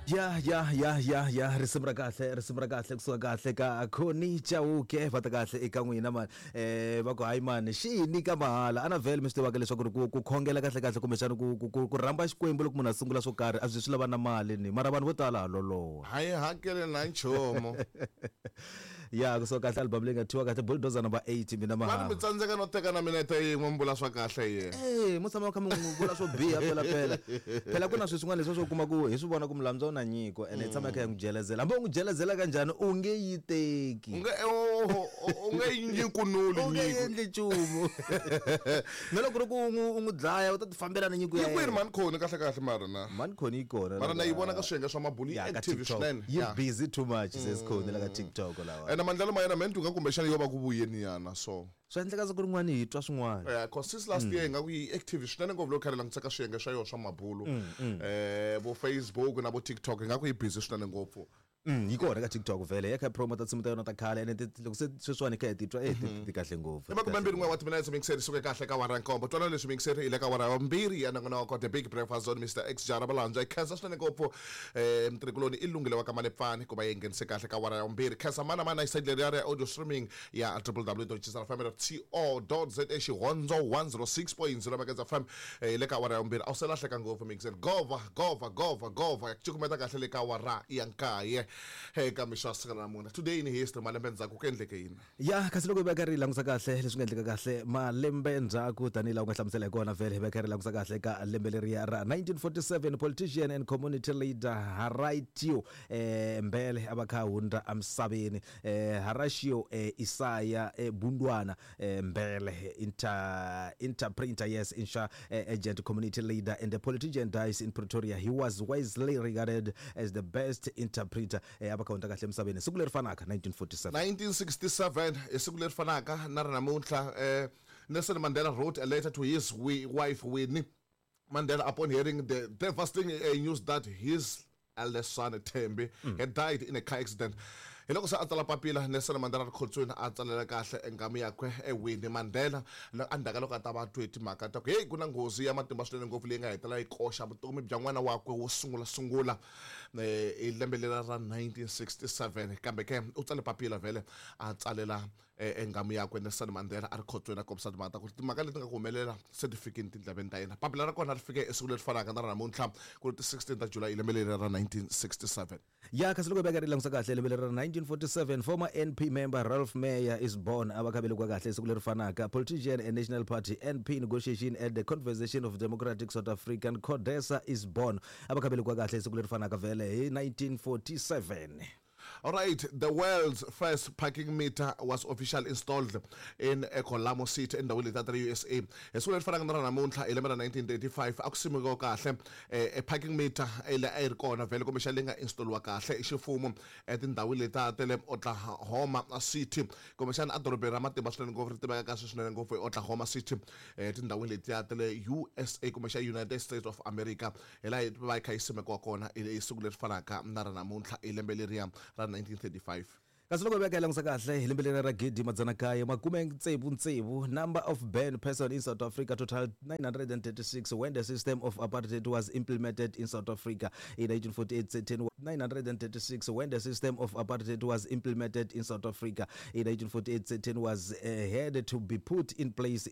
Ya ya ya ya ya, risimu ra kahle, risimu ra kahle kusuka kahle ka Connie Chauke. Va ta kahle eka n'wina mani. Va ku hayi mani, xi hi nyika mahala. Ana vhele mi swi tivaka leswaku ri ku khongela kahle kahle kumbexana ku rhamba Xikwembu loko munhu a sungula swo karhi a swi swi lava na mali ni mara vanhu vo tala ha loloha. A yi hakeli na nchumu. Ya kusuka kahle album leyi nga thyiwa kahle Bulldozer number 8 mina Va ri mahava. mi tsandzeka no teka na minete yin'we mi vula swa kahle hi yena. Eh, mo tshama kha mi n'wi vula swo biha phela phela. Phela ku na swilo swin'wana leswi swo kuma ku hi swi vona ku Mulambyana u na nyiko ene hi tshama hi kha hi n'wi jelezela. Hambi u n'wi jelezela kanjhani u nge yi teki. U nge u nge yi nyikunuli U nge nyiko. endli nchumu. Na loko ku ri ku u n'wi u n'wi dlaya u ta ti fambela na nyiko ya Yi kwini yena. mhani Khoni kahle kahle mara na? Mhani Khoni yi kona Mara na yi vona la ka swiyenge swa mabulu yi ya ka active TikTok. swinene. Yi Ya. busy too much sis Khoni la ka TikTok lawa. Ene maendlelo ma yena me ni twa nga kumbexana yo va ku vuyeni yana so. Swa endleka siku rin'wana hi twa swin'wana. Yeah, cause since last year ingaku yi active swinene ngopfu loko kha ri langutisa ka swiyenge swa yona swa mabulu. Vo Facebook na vo TikTok ingaku yi busy swinene ngopfu. Yi kona ka TikTok vhele ya kha yi promote tinsimu ta yona ta khale ene loko se sweswiwani hi kha hi titwa eh ti kahle ngopfu. I makumembirhi n'we wa timinetse mixeri suke kahle ka awara ya nkombo. Twana leswi mixeri hi le ka awara ya vumbirhi ya nongonoko The Big Breakfast Zone Mr X Jara Valandzwa. Hi khensa swinene ngopfu mutirhikuloni i Lungile wa ka Malepfani ku va yi nghenise kahle ka awara ya vumbirhi. Khensa mana mana hi side leriya ra audio streaming ya www.jisrfm.co.za Xihondzo 106.0 Maketsa FM hi le ka awara ya vumbirhi. A wu se lahleka ngopfu mixeri. Gova gova gova gova ya ku cukumeta kahle le ka awara ya nkaye eka mixo ya siku ra namuntlha. Today in history, malembe ndzhaku ku endleke yini? Ya kasi loko hi va karhi hi langusa kahle leswi nga endleka kahle malembe ndzhaku tanihi laha u nga hlamusela hi kona vhele hi va karhi hi langusa kahle ka lembe leriya ra 1947 politician and community leader Horatio Mbele a va kha a hundza emisaveni. Horatio Isaya Bundwana Mbele interprinter yes insha agent community leader and a politician dies in Pretoria. He was wisely regarded as the best interpreter. A va kha hundza kahle emisaveni siku leri fanaka 1947. 1967 hi siku leri fanaka na ri namuntlha Nelson Mandela wrote a letter to his wife Winnie Mandela upon hearing the devastating news that his eldest son Thembi had died in a car accident. Hi loko se a tsala papila Nelson Mandela ri khotsweni a tsalela kahle enghamu yakwe Winnie Mandela endzhaku ka loko a ta va twe timhaka ta ku heyi ku na nghozi ya matimba swinene ngopfu leyi nga hetelela yi koxa vutomi bya n'wana wakwe wo sungula sungula hi lembe lera ra 1967 kambe ke u tsale papila vhele a tsalela enghamu yakwe Nelson Mandela a ri khotsweni a kombisa timhaka ta ku timhaka leti nga ku humelela se ti fikini tindleveni ta yena. Papila ra kona ri fike esiku leri fanaka na ra namuntlha ku ri ti 16 ta July lembe leri ra 1967. Ya kasi loko hi veka ri langusa kahle lembe leri ra 1947 former NP member Ralph Meyer is born a va kha velekiwa kahle siku leri fanaka politician and National Party NP negotiation at the Conversation of Democratic South African CODESA is born a va kha velekiwa kahle siku leri fanaka vhele hi 1947. All right, the world's first parking meter was officially installed in Colamo City endhawini leti ta le USA. Hi siku leri fanaka na ra namuntlha hi lembe ra 1935 a ku simekiwa kahle e parking meter leyi a yi ri kona vhele kumbexana leyi nga install-iwa kahle hi ximfumo etindhawini leti ta le Oklahoma City kumbexana edorobeni ra matimba swinene ngopfu ri tiveka kahle swinene ngopfu hi Oklahoma City etindhawini letiya ta le USA kumbexana United States of America. Hi laha yi va yi kha yi simekiwa kona hi siku leri fanaka na ra namuntlha hi lembe leriya ra 1935. Kasi loko hi veka hi langusa kahle hi lembe leriya ra gidi madzana kaye makume tsevu tsevu number of banned person in South Africa total 936 when the system of apartheid was implemented in South Africa in 1948 certain 936 when the system of apartheid was implemented in South Africa in 1948 certain was had to be put in place.